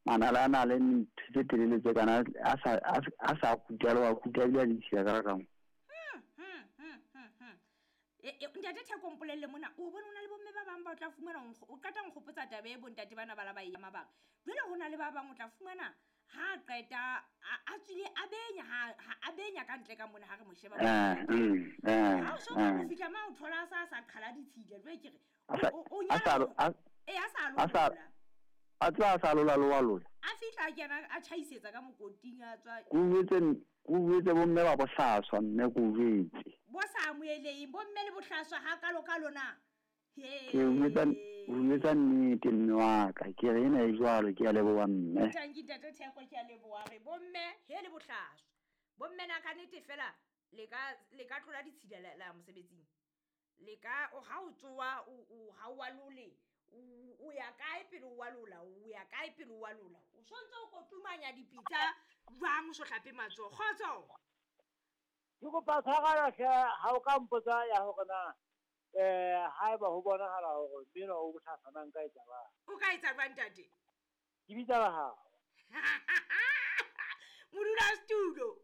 Manala a na le ntho tse telele tse kana a sa kuta le wa kuta ebile a ditshila ka rakangwe. Ntate Theko, mpolelle mona, o bone o na le bomme ba bang ba o tla fumana o qeta nkgopotsa taba e bontate bana ba la ba e mabaka. Jwale ho na le ba bang o tla fumana ha qeta a tswile a benya ha a benya ka ntle ka mona ha re mo sheba. Ha o so ka fihla ma o thola a sa qhala ditshila. Jwale ke re o nyala e a sa lola. A tswa a sa lola loa lola. A fihla kena a tjhaisetsa ka mokoting a tswa. Ku jwetse bomme ba bohlaswa mme ku jwetse. Bo sa amoheleng bomme le bohlaswa ha kalo ka lona. Ke jwetsa nnete mme wa ka, ke re ena e jwalo, ke a leboha mme. Tanki ntate Theko, ke a leboha re bomme he le bohlaswa. Bomme na ka nnete fela le ka tlola ditshila la mosebetsing. Le ka o ha o tsoa o ha o lole. O ya kae pele o lola, o ya kae pele o lola. O sontse o kotumanya dipitsa jwang o so hlape matsoho. Kgotso. Ke kopa tshwarelo hle ha o ka mpotsa ya hore na haeba ho bonahala hore mmino o bohlaswa na nka etsa jwang. O ka etsa jwang ntate? Ke bitsa ba hao. Modulasetulo.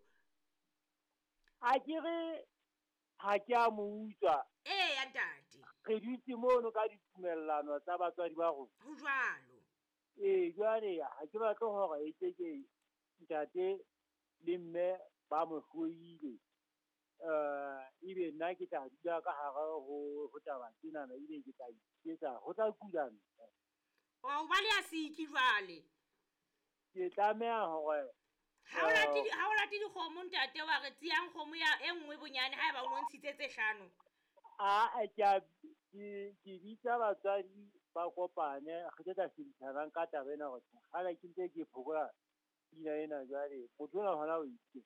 A ke re ha ke a mo utswa. Eya ntate. Re dutse mono ka ditumellano tsa batswadi ba rona. Ho jwalo. Ee, jwale ha ke batle hore e ke ke ntate le mme ba mo hloile. Ebe nna ke tla dula ka hare ho taba tsenana, ebe ke tla iketsa ho tla kula mme. O ba le a siki jwale. Ke tlameha hore ha o late dikgomo ntate wa re tsiyang kgomo ya e nngwe bonyane haeba o no ntshitse tse hlano. A ke bitsa batswadi ba kopane re tla shebisana ka taba ena hore kgale ke ntse ke phokola pina ena jwale motho ona hona o itse.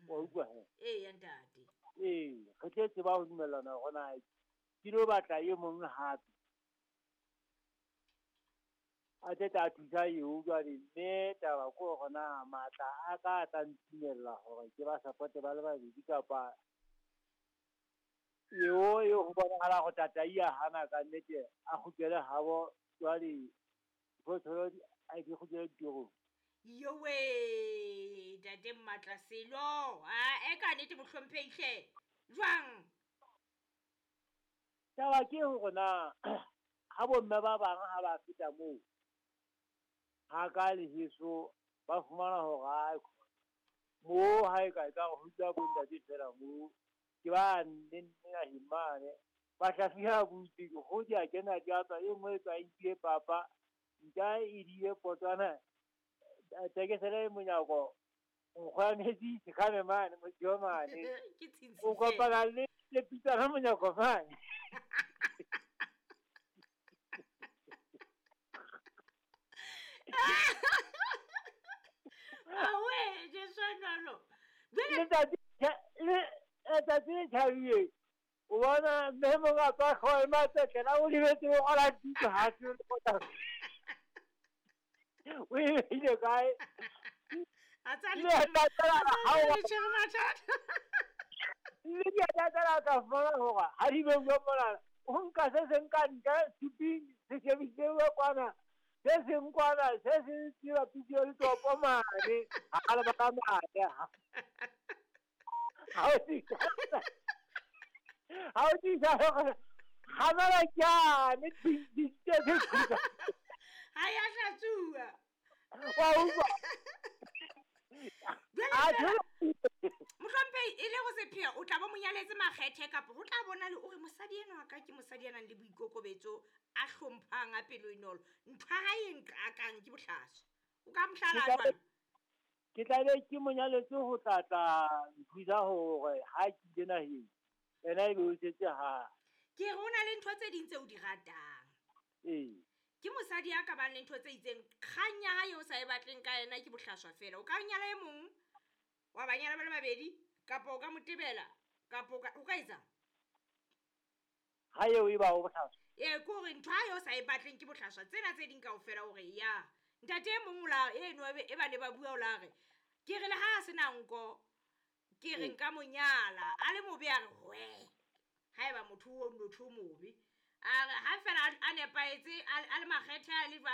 Wa utlwa he? Eya ntate. Ee, re tle tseba ho dumellana hore na ke lo batla e mong hape. A tle tla thusa eo jwale mme taba ke hore na matla a ka a tla ntumella hore ke ba supporte ba le babedi kapa eo e ho bonahala ho tataia hana ka nnete a kgutlele habo jwale diphoofolo a di kgutlele ditorong. Yowe ntate Matla Selo, a e ka nnete mohlomphehi jwang? Taba ke hore na ha bomme ba bang ha ba feta moo ha ka leheso ba fumana hore moo ha e ka e ka ho dula bontate fela moo ke ba nne naheng mane ba hlafia butse dikgoho di a kena di a tswa, e nngwe e tswa e nkile papa nka e diye potwana tekesele e monyako nkgo ya metsi sekhame mane motho mane o kopana le pitsana monyako mane. Awe Jesu nalo. Letsatsi le tjhabile o bona mme monga tswa hlooho e matsetlela o lebetse o ngola tuto ha se o e beile kae. A tsa le le di a tlatela ka fumana hore ha di beuwe mona o nka se seng ka ntle suping se shebiseuwe kwana se seng kwana se seng se bapiswe le topo mane ha le baka mane ha o tisa hore kgamela kyane di ha ya hlatsuwa wa utlwa. Mohlomphehi e le ho sepheo o tla bo monyaletse makgethe kapa ho tla bona le o re mosadi enwa wa ka ke mosadi ya nang le boikokobetso a hlomphang a pelo e nolo ntho ya hae e nqakang ke bohlaswa o ka mohlala jwang? Ke tla be ke monyaletse ho tla tla nthusa hore ha ke ile naheng ena ebe o setse ha. Ke re o na le ntho tse ding tse o di ratang. Ee. Ke mosadi ya ka bang le ntho tse itseng kgang ya hae o sa e batleng ka yena ke bohlaswa fela. O ka nyala e mong wa ba nyala ba le babedi kapa o ka mo tebela kapa o ka etsang? Ha eo e ba o bohlaswa. Ee, ke hore ntho ha eo sa e batleng ke bohlaswa tsena tse ding kaofela hore ya ntate e mong o la eno e ba ne ba bua o la re ke re le ha a sena nko ke re nka mo nyala a le mobe a re hwe haeba motho o motho o mobe a re ha fela a nepahetse a le makgethe a le jwang.